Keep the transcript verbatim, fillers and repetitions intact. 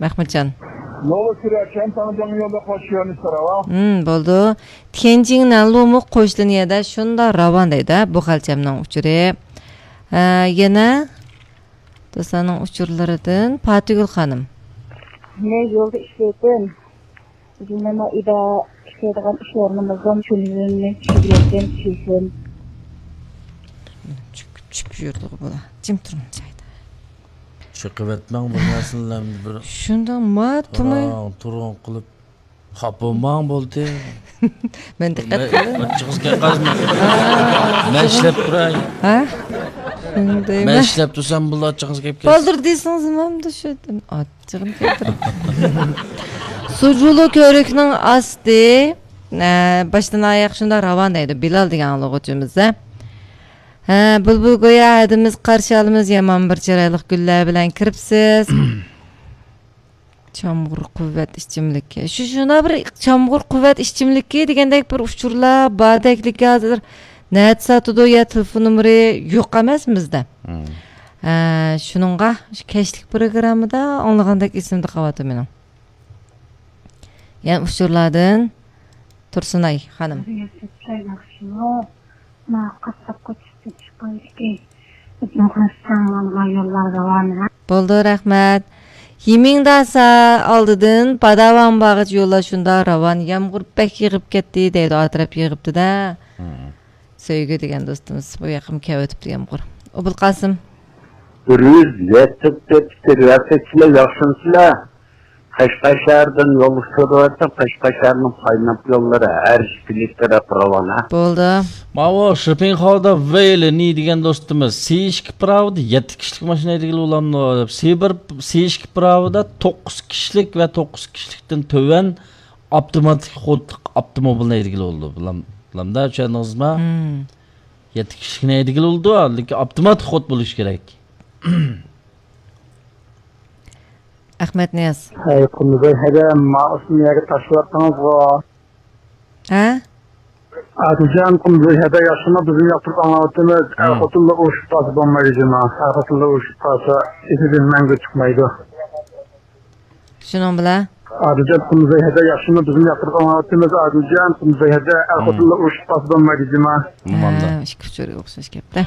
مەخمۇتجان. نوۋا سۈرەتچان تاڭجاڭ يولدا قوشۇۋېرىڭ سوراۋا. ھىم، بولدى. تيەنجىننىڭ لۇمۇ قوشلىنىيەدە شۇنداق راۋان دەيدۇ، بۇ خەلچەمنىڭ ئۇچۇرى. ھە، يەنە دوستلارنىڭ ئۇچۇرلىرىدىن پاتىگۈل خانىم. مەن يولدا ئىشلەيتتىم. بىزنىڭ ئىدا ئىشلەيدىغان ئىش ئورنىمىزدىن تۈنۈگۈننى چۈشۈرگەن كېسىم. چۈپ، چۈپ يۈردىغۇ بۇلار. جىم تۇرۇڭ جايدا. چېقىۋەتمەڭ بۇ نەرسىلەرنى بىر. شۇنداق ما تۇماي. تۇرۇڭ، تۇرۇڭ قىلىپ. خاپا بولماڭ بولدى. مەن دىققەت قىلدىم. ئاچچىقىڭىز كەپ قالسىمۇ. مەن ئىشلەپ تۇراي. ھە؟ شۇنداق. مەن ئىشلەپ تۇرسام بۇلار ئاچچىقىڭىز كەپ كەتسۇن. بالدۇر دېسىڭىز مەنمۇ شۇ ئاچچىقىم كەلتۈرۈپ. سۇجۇلۇ كۆۋرۈكنىڭ ئاستى، ئە، باشتىن ئاياق شۇنداق راۋان دەيدۇ بىلال دېگەن ئاڭلىغۇچىمىز. ھە، بۇلبۇل گويا ھەدىمىز قارشى ئالىمىز، يامان بىر چىرايلىق گۈللەر بىلەن كىرىپسىز. چامغۇر قۇۋۋەت ئىچىملىكى. شۇ، شۇنداق بىر چامغۇر قۇۋۋەت ئىچىملىكى دېگەندەك بىر ئۇچۇرلار باردەكلىكى ھازىر نەدە ساتىدۇ يا تېلېفون نومۇرى يوق ئەمەس بىزدە. مم. ھە، شۇنىڭغا شۇ كەچلىك پروگراممىدا ئاڭلىغاندەك ئېسىمدە قالىۋاتىدۇ مېنىڭ. يەنە ئۇچۇرلاردىن تۇرسۇنئاي خانىم. مانا قاسساپ كوچىسىدىن چىققان ئىكەن. بىزنىڭ قاسساڭلارغا يوللار راۋان. بولدى، رەھمەت. يىمىڭداسا ئالدىدىن پاداۋان باغىچە يوللار شۇنداق راۋان. يامغۇر بەك يېغىپ كەتتى دەيدۇ، ئاتراپ يېغىپتۇ-دە. مم. سۆيگۈ دېگەن دوستىمىز بۇ ياققىمۇ كېلىۋېتىپتۇ يامغۇر. ئوبۇلقاسىم. بىر يۈز يەتتە تۆت، ياخشىمۇسىلەر؟ قەشقەر شەھىرىدىن يولغا چۈشۈرۈۋاتسام، قەشقەر شەھىرىنىڭ پايناپ يوللىرى ھەر ئىككى تەرەپ راۋان، ھە؟ بولدى. ماۋۇ شىپىڭخاۋدا ۋېيلى نى دېگەن دوستىمىز، سى ئىككى پىراۋىدا يەتتە كىشىلىك ماشىنا ھەيدىگىلى بولامدۇ دەپ. سى بىر، سى ئىككى پىراۋىدا توققۇز كىشىلىك ۋە توققۇز كىشىلىكتىن تۆۋەن ئاپتوماتىك خودلۇق ئاپتوموبىلنى ھەيدىگىلى بولىدۇ. بىلەم-، بىلەمدە، چۈشەندىڭىزمۇ؟ مم. يەتتە كىشىلىكنى ھەيدىگىلى بولىدۇ، لېكىن ئاپتوماتىك خود بولۇشى كېرەك. ئەخمەت نىياز. ھەي، قۇمزاي ھەدە، ماۋۇ ئىسىمنى يەرگە تاشلاۋەتتىڭىزغۇ. ھە؟ ئادىلجان، قۇمزاي ھەدە ياخشىمۇ؟ بىزمۇ ياقتۇرۇپ ئاڭلاۋاتىمىز. ھە. ئەر-خوتۇنلار ئۇرۇشۇپ قالسا بولمايدۇ جۇما. ئەر-خوتۇنلار ئۇرۇشۇپ قالسا، ئېسىدىن مەڭگۈ چىقمايدۇ. شۇنىڭ بىلەن. ئادىلجان، قۇمزاي ھەدە ياخشىمۇ؟ بىزمۇ ياقتۇرۇپ ئاڭلاۋاتىمىز. ئادىلجان، قۇمزاي ھەدە، ئەر-خوتۇنلار ئۇرۇشۇپ قالسا بولمايدۇ جۇما. ھە، ئىككى ئۇچۇر ئوخشاش گەپتە.